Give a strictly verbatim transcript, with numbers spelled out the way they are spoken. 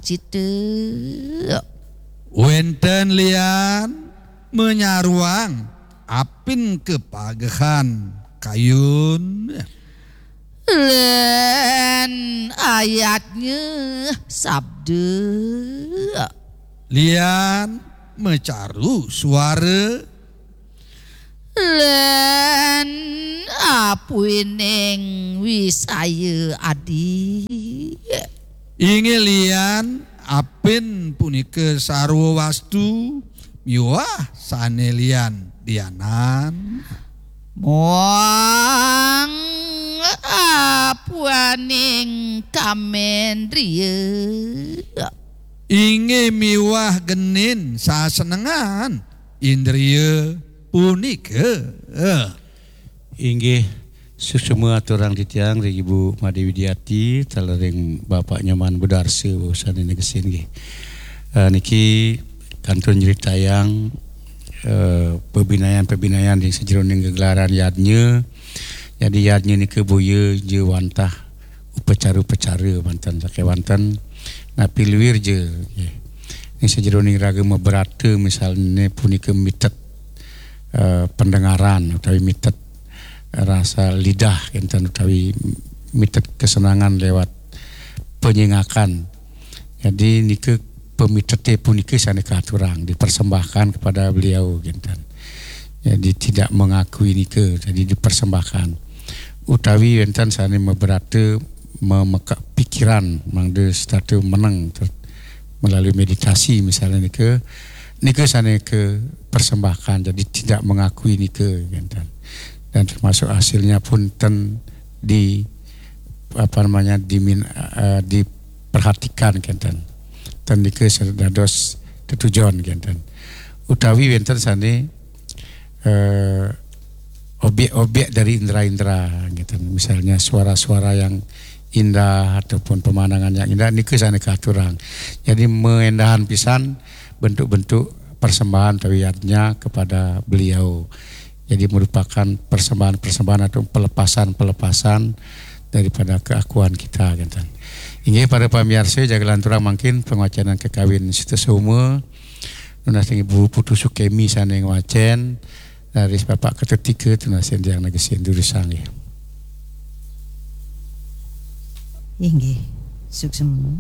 cita. Wénten lian menyaruang apin kepagehan kayun. Lan ayatnya sabda. Lian mecaru suara. Lan apuining wisaya adi. Inggih lian apin punika sarwa wastu miwah sané lian lianan. Muang apuaning kamendriya. Inggih miwah genin sasenengan indriya punika. Inggih, suksma aturang titiang ring Ibu Madé Widiati, taler ring Bapak Nyoman Budarsa, sané negesin nggih. Eh, niki kantun nyritayang, eh, pabinayan-pabinayan ring sajeroning gegelaran yadnya. Jadi yadnya nika boya ja wantah upacara-upacara manten sakéwanten napi luir ja, nggih. Ning sajeroning raga mabrata misalne punika mitet, eh, pendengaran utawi mitet rasa lidah kenten utawi mitet kesenangan lewat penyingakan. Jadi nika pemitete punika sané katurang dipersembahkan kepada beliau kenten. Jadi tidak mengakui nika, jadi dipersembahkan. Utawi wénten sané mabrata memeka pikiran mangda setata meneng ter-, melalui meditasi misalnya nika, nika sané ke persembahkan, jadi tidak mengakui nika kenten. Dan termasuk hasilnya pun ten di apa namanya dimin, eh, diperhatikan kenten. Ten nika dados tetujon kenten. Utawi wénten sané eh, objek-objek dari indera-indera gitu. Misalnya suara-suara yang indah ataupun pemandangan yang indah nika sané katurang. Jadi mengendahan pisan bentuk-bentuk persembahan utawi yadnya kepada beliau. Jadi merupakan persembahan-persembahan atau pelepasan-pelepasan daripada keakuan kita gitu. Inggih para pamiarsa, jaga lanturang mangkin pangwacénan kakawin Sita Soma. Nunas ring Ibu Putu Sukemi sané ngwacén, raris Bapak Ketut Tika tunas ring tiang negesin durusang nggih. Inggih, suksma.